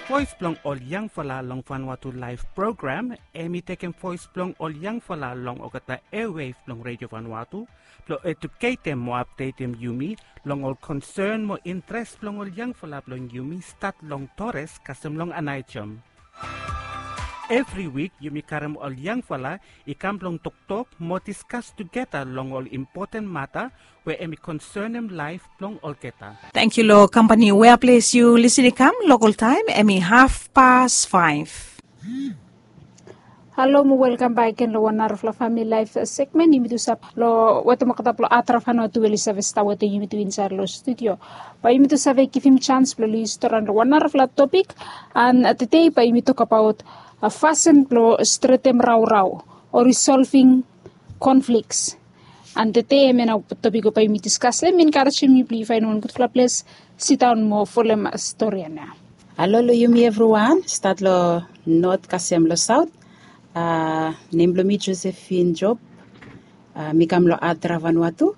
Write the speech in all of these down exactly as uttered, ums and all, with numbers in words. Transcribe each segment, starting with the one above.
Voes blong ol yangfala long Vanuatu Laef program, hem i tekem voes blong ol yangfala long olgeta airwave blong Redio Vanuatu blong eduketem mo apdetem yumi long ol konsen mo intres blong ol yangfala blong yumi, stat long Torres kasem long Aneityum. Evri wik yumi karem ol yangfala i kam blong toktok mo diskas tugeta long ol impoten mata we hem i konsenem laef blong olgeta. Tangkiu long kampani wea ples yu lisin i kam. Lokol taem hem i haf pas faef. Halo mo welkam bak gen long wan narafala famili laef segmen. Yumi tu save long wetem olgeta blong Adravan Watu we oli save stap wetem yumi tu insaed long studio. Bae yumi tu save givim jans blong oli storian long wan narafala topik. An tede bae yumi tokbaot fasin blong stretem raorao o risolving konfliks. An tede hemia nao topik we bae yumi diskas long hem i enkarejem yu blong yu faenem wan gudfala ples, sidaon mo folem storian ya. Halo long yumi evriwan, stat long not kasem long saot. Nem blong mi Josephine Job. Mi kam long Adravan Watu.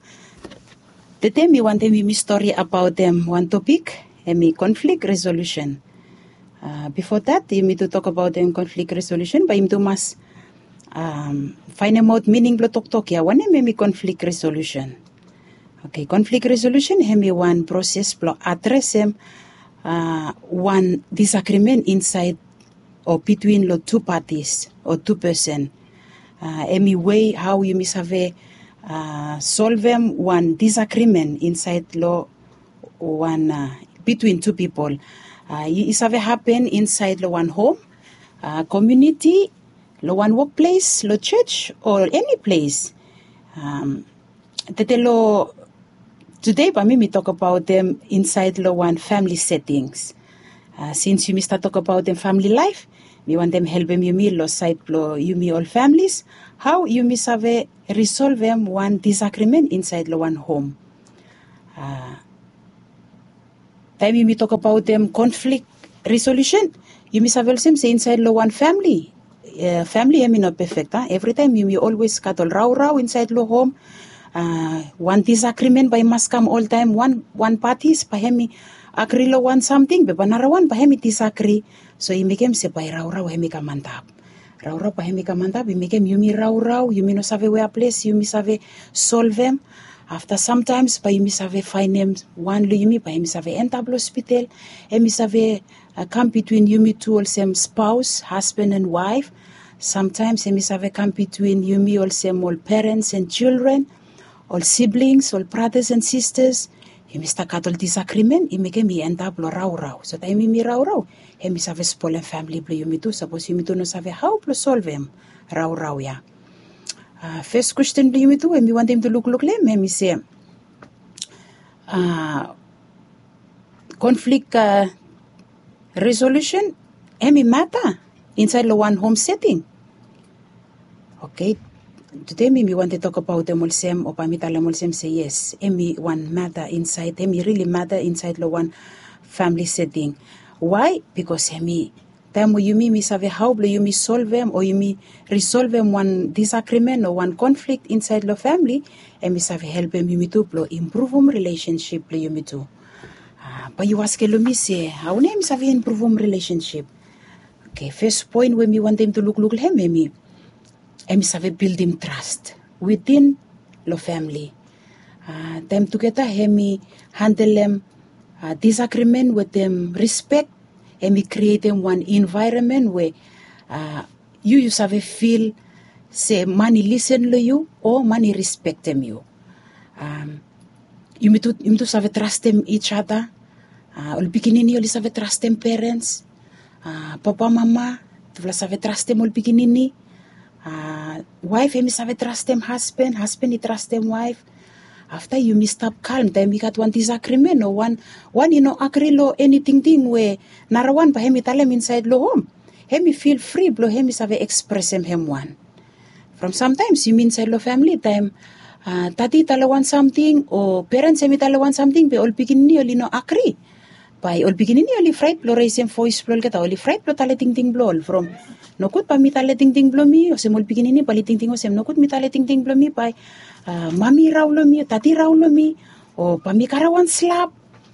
Tede mi wantem yumi stori abaotem wan topik, hem i konflik resolusen. Bifo dat yumi tu tokbaotem konflik resolusen, bae yumi tu mas faenemaot mining blong toktok ya, wanem hem i konflik resolusen. Oke, konflik resolusen hem i wan proses blong adresem wan disagrimen insaed o bitwin long tu patis o tu pesen. Hem i wei hao yumi save solvem wan disagrimen insaed long wan, bitwin tu pipol. I save hapen insaed long wan hom, komuniti, long wan wokples, long jos o eni ples. Tede long tede bae mi mi tokbaotem insaed long wan famili setings. Sins yumi stat tokbaotem famili laef, mi wantem helpem yumi long saed blong yumi ol familis, hao yumi save risolvem wan disagrimen insaed long wan hom. Taem yumi tokbaotem konflik resolusen, yumi save olsem se insaed long wan famili, famili hem i no pefek a. Evritaem yumi olwes gat ol raorao insaed long hom. Wan disagrimen bae i mas kam oltaem. Wan patis bae hem i agri long wan samting, be bae narawan bae hem i disagri. So i mekem se bae raorao hem i kam antap. Raorao bae hem i kam antap, i mekem yumi raorao, yumi no save wea ples yumi save solvem. Afta samtaems bae yumi save faenem wan long yumi bae hem i save endap long hospital. Hem i save kam bitwin yumi tu olsem spaos, hasban an waef. Samtaems hem i save kam bitwin yumi olsem ol perens an jildren, ol siblings, ol bratas an sistas. Yumi stap gat ol disagrimen, i mekem i endap long raorao. So taem yumi raorao, hem i save spolem famili blong yumi tu sapos yumi tu no save hao blong solvem raorao ya. Fes kwesten blong yumi tu we mi wantem tu lukluk long hem, hem i se, konflik resolusen hem i mata insaed long wan hom seting. Oke, tede mi mi wantem tokbaotem olsem o bae mi talem olsem se yes, hem i wan mata insaed, hem i rili mata insaed long wan famili seting. Wae? Bikos hem i taem we yumi mi save hao blong yumi solvem o yumi risolvem wan disagrimen o wan konflik insaed long famili, hem i save helpem yumi tu blong impruvum rilesensip blong yumi tu. Bae yu askem long mi se hao nao hem i save impruvum rilesensip? Oke, fes poen we mi wantem tu lukluk long hem, hem i hem i save bildim tras witin long famili. Taem tugeta hem i handelem disagrimen wetem rispek, hem i krietem wan envaeronmen we yu yu save fil se man i lisen long yu o man i rispektem yu. Yumi tu yumi tu save trastem ij ada. Ol pikinini oli save trastem perens. Papa mama tufala save trastem ol pikinini. Waef hem i save trastem hasban, hasban i trastem waef. Afta yumi stap kalm taem i gat wan disagrimen o wan wan i no agri long eni tingting we narawan bae hem i talem insaed long hom. Hem i fil fri blong hem i save ekspresem hem wan. From samtaems yumi insaed long famili taem tati i talem wan samting o perens hem i talem wan samting be ol pikinini oli no agri. Bae ol pikinini oli fraet blong resem voes blong olgeta, oli fraet blong talem tingting blong ol from nogud bae mi talem tingting blong mi olsem ol pikinini bae oli tingting olsem nogud mi talem tingting blong mi bae mami i rao long mi o tati i rao long mi o bae mi karem wan slap.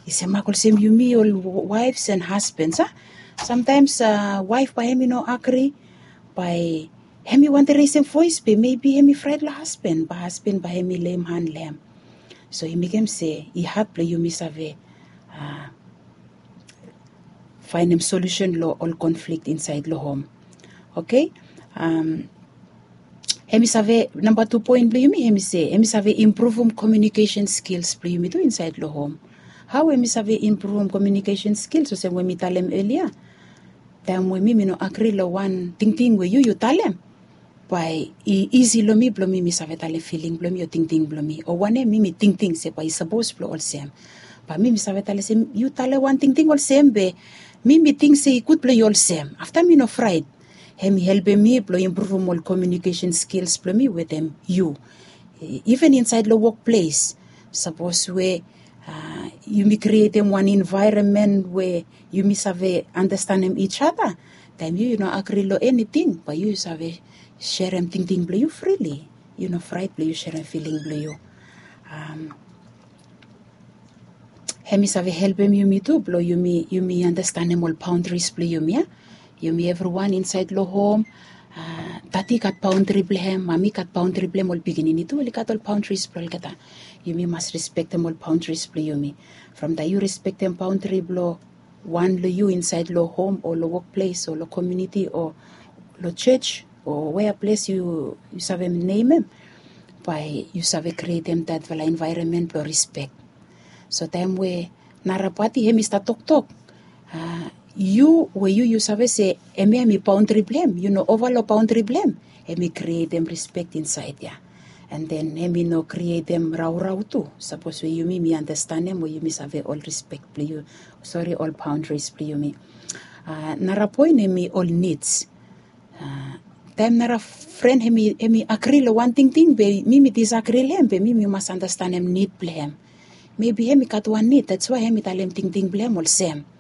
I semak olsem yumi ol waefs an hasbans a. Samtaims waef bae hem i no agri, bae hem i wantem resem voes be mebi hem i fraet long hasben bae hasben bae hem i leim han long hem. So i mekem se i had blong yumi save faenem solusen long ol konflik insaed long hom. Oke. Hem i save namba tu poen blong yumi hem i se hem i save impruvum komiunikesen skils blong yumi tu insaed long hom. Hao hem i save impruvum komiunikesen skils olsem we mi talem elia, taem we mi mi no agri long wan tingting we yu yu talem, bae i isi long mi blong mi mi save talem filing blong mi o tingting blong mi o wanem mi mi tingting se bae i sapos blong olsem. Bae mi mi save talem se yu talem wan tingting olsem be mi mi ting se i gud blong yu olsem afta mi no fraet. Hem i helpem mi blong impruvum ol komiunikesen skils blong mi wetem yu. Iven insaed long wokples, sapos we yumi krietem wan envaeronmen we yumi save anastanem ij ada, taem yu yu no agri long eniting bae yu save serem tingting blong yu frili. Yu no fraet blong yu serem filing blong yu. Hem i save helpem yumi tu blong yumi yumi anastanem ol baondris blong yumi ya. Yumi evriwan insaed long hom, dadi i gat baondri blong hem, mami i gat baondri blong hem ol pikinini tu oli gat ol baondris blong olgeta. Yumi mas rispektem ol baondris blong yumi. From taem yu rispektem baondri blong wan long yu insaed long hom o long wokples o long komiuniti o long jos o wea ples yu save nemem, bae yu save krietem datfala envaeronmen blong rispek. So taem we nara pati hem i stap toktok, yu we yu yu save se hemia hem i baondri blong hem yu no ova long baondri blong hem, hem i krietem rispek insaed ya. An den hem i no krietem raorao tu sapos we yumi mi anastanem we yumi save ol rispek blong yu, sori, ol baondris blong yumi. Nara poen hem i ol nids. Taem nara fren hem i agri long wan tingting be mi mi disagri long hem be mi mi mas anastanem nid blong hem. Mebi hem i gat wan nid dats wae hem i talem tingting blong hem olsem.